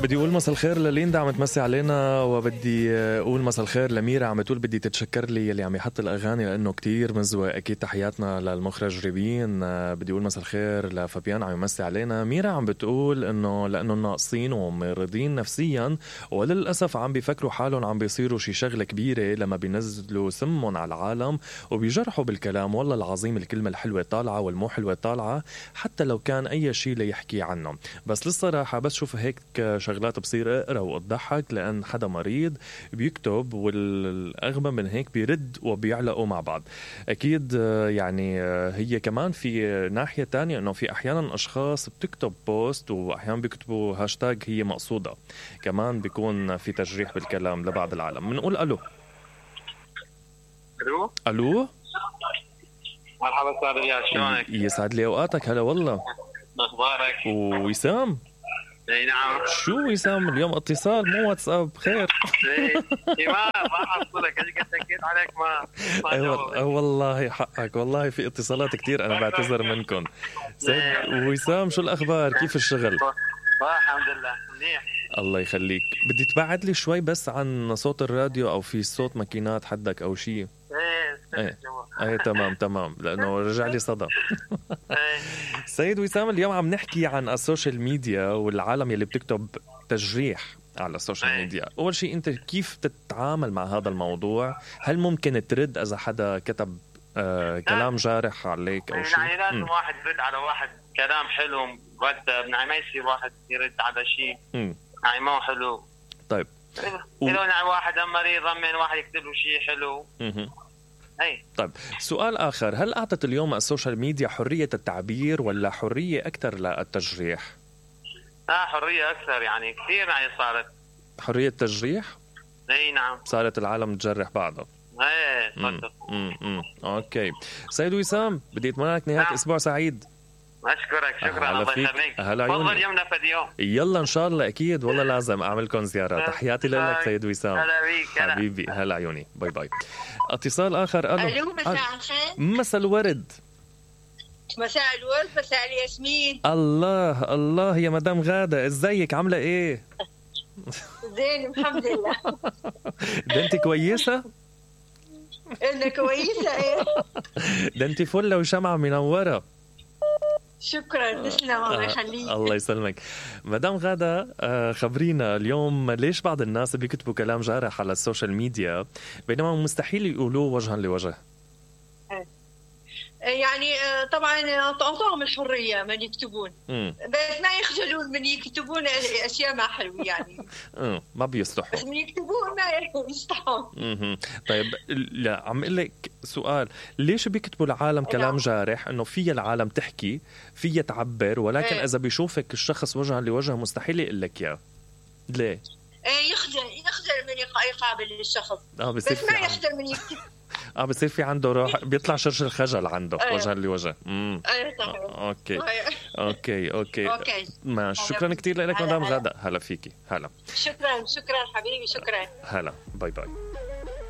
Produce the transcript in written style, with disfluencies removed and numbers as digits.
بدي أقول مساء الخير لليندا عم تمسي علينا، وبدي أقول مساء الخير لميرا عم تقول بدي تتشكر لي اللي عم يحط الأغاني لأنه كتير مزوق. أكيد تحياتنا للمخرج ريبين. بدي أقول مساء الخير لفابيان عم يمسي علينا. ميرا عم بتقول إنه لأنه ناقصين ومرضين نفسيا وللأسف عم بيفكروا حالهم عم بيصيروا شي شغلة كبيرة لما بينزلوا سمهم على العالم وبيجرحوا بالكلام. والله العظيم الكلمة الحلوة طالعة والمو حلوة طالعة حتى لو كان أي شي ليحكي عنه. بس للصراحة بس شوف هيك شغلات بصير اقرا وتضحك لان حدا مريض بيكتب والاغبى من هيك بيرد وبيعلقوا مع بعض. اكيد يعني هي كمان في ناحيه تانية انه في احيانا اشخاص بتكتب بوست واحيانا بيكتبوا هاشتاج هي مقصوده، كمان بيكون في تجريح بالكلام لبعض العالم. بنقول الو الو الو مرحبا استاذ رياض، شلونك؟ يسعد لي اوقاتك. هلا والله، اخبارك؟ وسام اي نعم. شو وسام اليوم اتصال مو واتساب؟ خير. اي ما حصلك، اجي قلت اكيد عليك ما والله حقك، والله في اتصالات كتير انا بعتذر منكم. سيد وسام شو الاخبار؟ كيف الشغل؟ الحمد لله منيح. الله يخليك. بدي تبعد لي شوي بس عن صوت الراديو او في صوت ماكينات حدك او شيء. ايه تمام لانه رجع لي صدى. سيد وسام اليوم عم نحكي عن السوشيال ميديا والعالم يلي بتكتب تجريح على السوشيال ميديا. اول شيء انت كيف تتعامل مع هذا الموضوع؟ هل ممكن ترد اذا حدا كتب كلام جارح عليك او شيء؟ يعني لازم واحد يرد على واحد كلام حلو مرتب، يعني ما يصير واحد يرد على شيء يعني ما هو حلو. طيب إذا واحد مريض ضمن واحد يكتب له شيء حلو. أي. طيب سؤال آخر، هل أعطت اليوم السوشيال ميديا حرية التعبير ولا حرية أكثر للتجريح؟ لا حرية أكثر، يعني كثير يعني صارت حرية تجريح؟ أي نعم، صارت العالم تجرح بعضها. ايه صدق. اوكي سيد وسام بدي اتمنى لك نهاية اسبوع سعيد. اشكرك شكرا الله يخليك. تفضل يومنا في اليوم. يلا ان شاء الله اكيد، والله لازم اعملكم زياره. تحياتي لك سيد وسام. هلا بيك حبيبي، هلا عيوني، باي باي. اتصال اخر. الو مساء الخير. مساء الورد. مساء الورد، مساء الياسمين. الله يا مدام غادة، ازيك عامله ايه؟ زين الحمد لله. ده انت كويسه؟ انا كويسه. ايه ده انت فله وشمعه منوره. شكرا تسلم الله يخليك. الله يسلمك. مدام غادة، خبرينا اليوم ليش بعض الناس بيكتبوا كلام جارح على السوشيال ميديا بينما مستحيل يقولوه وجها لوجه؟ يعني طبعا أعطاهم الحرية من يكتبون، بس ما يخجلون من يكتبون أشياء ما حلوة يعني. ما بيستحوا، بس من يكتبون ما يستحون. طيب لا عم اقول لك سؤال، ليش بيكتبوا العالم كلام جارح؟ انه في العالم تحكي فيها تعبر، ولكن اذا بيشوفك الشخص وجها لوجه مستحيل يقول لك اياه. ليه؟ يخجل من يقابل الشخص. بس ما يخجل من يكتب. بصير في عنده روح، بيطلع شرشر خجل عنده وجها لوجه. اوكي ماشي. شكرا كتير لك مدام غادة. هلا فيكي. هلا شكرا حبيبي، شكرا. هلا باي باي.